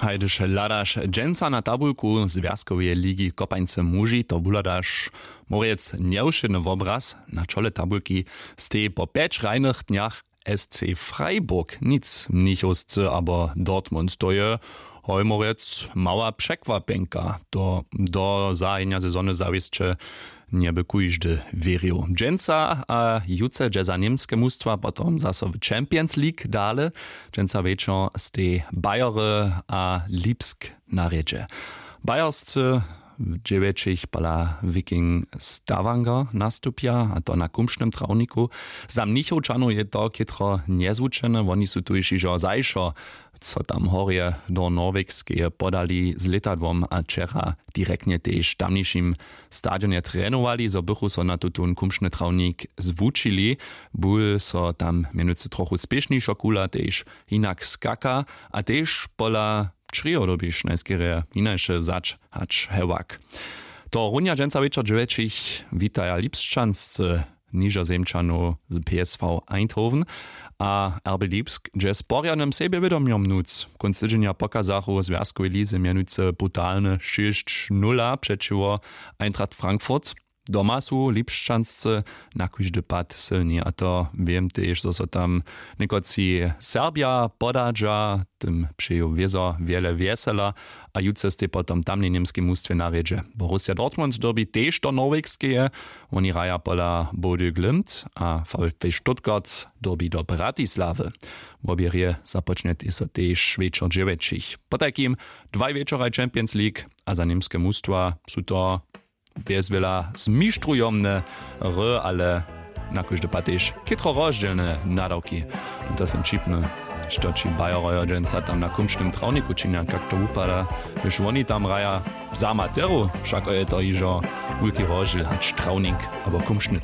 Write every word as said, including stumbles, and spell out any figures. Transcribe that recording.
Hajdyž hladaš dźensa na tabulku zwjazkoweje ligi kopańce muži, to wuhladaš morjec njewšědny wobraz. Na čole tabulki stej po pjeć hrajnych dnjach sc Freiburg, nic mnichowscy abo Dortmund, to je hoj morjec mała překwapjenka. To do zahajenja sezony zawěsće njeby kóždy wěrił. Dźensa a jutře dźe za němske mustwa potom zaso w Champions League dale. Dźensa wječor stej Bayery a Lipsk na rjedźe. Bayerscy w dźewjećich pola Viking Stavanger nastupja, a to na kumšnym trawniku. Za mnichowčanow je to chětro njezwučene, woni su tuž hižo zašo so tam horje do Norwegskeje podali z lětadłom a wčera direktnje tež w tamnišim stadionje trenowali, zo bychu so na tutón kumšny trawnik zwučili. Bul so tam mjenujcy trochu spěšnišo kula tež hinak skaka a tež pola črějo dyrbiš najskerje hinaše wzać hač hewak. To runja dźensa wječor dźewjećich witaja Lipšćanscy nižozemčanow z P S V Eindhoven a R B Lipsk dźe z porjadnym sebjewědomjom nóc. Kónc tydźenja pokazachu w zwjazkowej lize mjenujcy brutalny šěsć nula přećiwo Eintracht Frankfurt. Doma su Lipšćanscy na kóždy pad sylni, a to wěm tež, zo so tam někotři Serbja podadźa, tym přeju wězo wjele wjesela. A jutře stej potom tamnej němskej mustwje na rjedźe. Borussia Dortmund dyrbi tež do Norwegskeje. Woni hraja pola Bodø Glimt a VfB Stuttgart dyrbi do Bratislawy. Wobě rěje započnjetej so tež wječor dźewjećich. Potajkim dwaj wječoraj Champions League a za němske mustwa su to bjez wjela zmištrujomne hry, ale na kóždy pad tež chětro rozdźělne nadawki. To sym ćipny, što ći Bayerojo dźensa tam na kumšnym trawniku činja, kak to wupada, hdyž woni tam hraja. Za Materu wšako je to hižo wulki rozdźěl hač trawnik abo kumšny